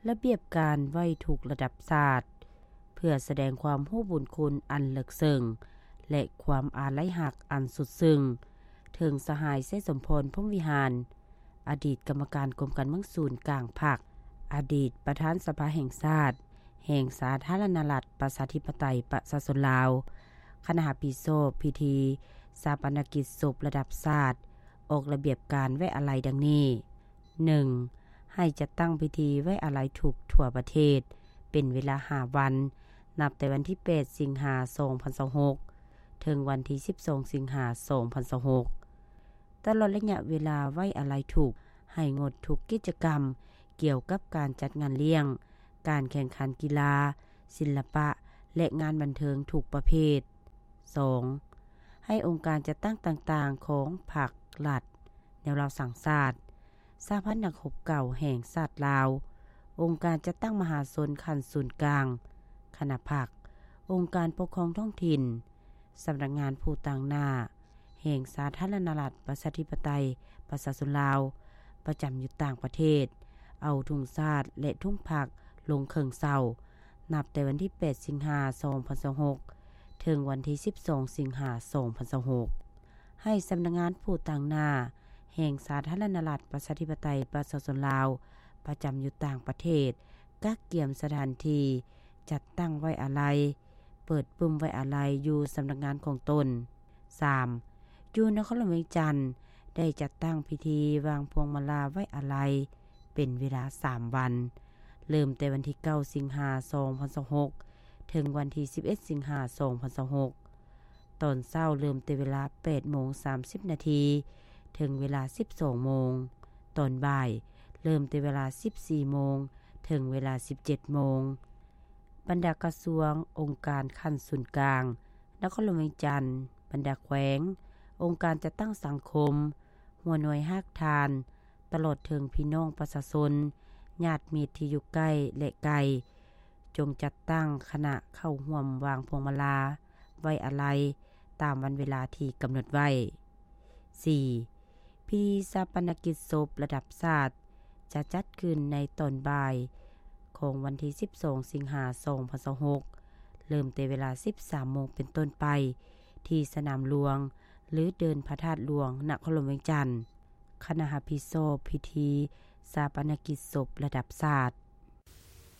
ລະບຽບການໄວ້ທຸກລະດັບຊາດ ເພື່ອສະແດງຄວາມຮູ້ບຸນຄຸນອັນເລິກເຊິ່ງ ແລະ ຄວາມອາໄລຮັກອັນສຸດຊຶ້ງ ເຖິງສະຫາຍ ໄຊສົມພອນ ພົມວິຫານ ອະດີດກຳມະການກົມການເມືອງສູນກາງພັກ, ອະດີດປະທານສະພາແຫ່ງຊາດ ແຫ່ງສາທາລະນະລັດ ປະຊາທິປະໄຕ ປະຊາຊົນລາວ, ຄະນະຮັບຜິດຊອບພິທີຊາປະນະກິດສົບລະດັບຊາດ ອອກລະບຽບການໄວ້ອາໄລດັ່ງນີ້: ໜຶ່ງ ໃຫ້ຈັດຕັ້ງພິທີໄວ້ອາໄລທຸກທົ່ວປະເທດ ເປັນເວລາຫ້າວັນ, ນັບແຕ່ວັນທີແປດ ສິງຫາ ສອງພັນຊາວຫົກ ເຖິງວັນທີສິບສອງ ສິງຫາ ສອງພັນຊາວຫົກ. ຕະຫຼອດໄລຍະເວລາໄວ້ອາໄລທຸກ ໃຫ້ງົດທຸກກິດຈະກຳກ່ຽວກັບການຈັດງານລ້ຽງ, ການແຂ່ງຂັນກິລາ, ສິລະປະ ແລະ ງານບັນເທີງທຸກປະເພດ. ສອງ ໃຫ້ອົງການຈັດຕັ້ງຕ່າງໆຂອງພັກລັດ, ແນວລາວສ້າງຊາດ, ສະຫະພັນນັກຮົບເກົ່າແຫ່ງຊາດລາວ, ອົງການຈັດຕັ້ງມະຫາຊົນຂັ້ນສູນກາງ, ຄະນະພັກ, ອົງການປົກຄອງທ້ອງຖິ່ນ, ສຳນັກງານຜູ້ຕາງໜ້າແຫ່ງສາທາລະນະລັດ ປະຊາທິປະໄຕ ປະຊາຊົນລາວ ປະຈຳຢູ່ຕ່າງປະເທດ ເອົາທຸງຊາດ ແລະ ທຸງພັກລົງເຄື່ອງເຊົ່າ ນັບແຕ່ວັນທີແປດ ສິງຫາ ສອງພັນຊາວຫົກ ເຖິງວັນທີສິບສອງ ສິງຫາ ສອງພັນຊາວຫົກ. ໃຫ້ສຳນັກງານຜູ້ຕາງໜ້າແຫ່ງສາທາລະນະລັດ ປະຊາທິປະໄຕ ປະຊາຊົນລາວ ປະຈຳຢູ່ຕ່າງປະເທດ ກະກຽມສະຖານທີ່ຈັດຕັ້ງໄວ້ອາໄລ, ເປີດປຶ້ມໄວ້ອາໄລຢູ່ສຳນັກງານຂອງຕົນ. ສາມ ຢູ່ນະຄອນຫຼວງວຽງຈັນ ໄດ້ຈັດຕັ້ງພິທີວາງພວງມາລາໄວ້ອາໄລ ເປັນເວລາສາມວັນ, ເລີ່ມແຕ່ວັນທີເກົ້າ ສິງຫາ ສອງພັນຊາວຫົກ ເຖິງວັນທີສິບເອັດ ສິງຫາ ສອງພັນຊາວຫົກ. ຕອນເຊົ້າເລີ່ມແຕ່ເວລາແປດໂມງສາມສິບນາທີ ເຖິງເວລາສິບສອງໂມງ, ຕອນບ່າຍເລີ່ມແຕ່ເວລາສິບສີ່ໂມງ ເຖິງເວລາສິບເຈັດໂມງ. ບັນດາກະຊວງ, ອົງການຂັ້ນສູນກາງນະຄອນຫຼວງວຽງຈັນ, ບັນດາແຂວງ, ອົງການຈັດຕັ້ງສັງຄົມ, ຫົວໜ່ວຍຮາກຖານ, ຕະຫຼອດເຖິງພີ່ນ້ອງປະຊາຊົນ, ຍາດມິດທີ່ຢູ່ໃກ້ ແລະ ໄກ, ຈົ່ງຈັດຕັ້ງຄະນະເຂົ້າຮ່ວມວາງພວງມາລາໄວ້ອາໄລຕາມວັນເວລາທີ່ກຳນົດໄວ້. ສີ່ ພິທີຊາປະນະກິດສົບລະດັບຊາດ ຈະຈັດຂຶ້ນໃນຕອນບ່າຍຂອງວັນທີສິບສອງ ສິງຫາ ສອງພັນຊາວຫົກ ເລີ່ມແຕ່ເວລາສິບສາມໂມງເປັນຕົ້ນໄປ ທີ່ສະໜາມຫຼວງ ຫຼື ເດີ່ນພະທາດຫຼວງ ນະຄອນຫຼວງວຽງຈັນ. ຄະນະຮັບຜິດຊອບພິທີຊາປະນະກິດສົບລະດັບຊາດ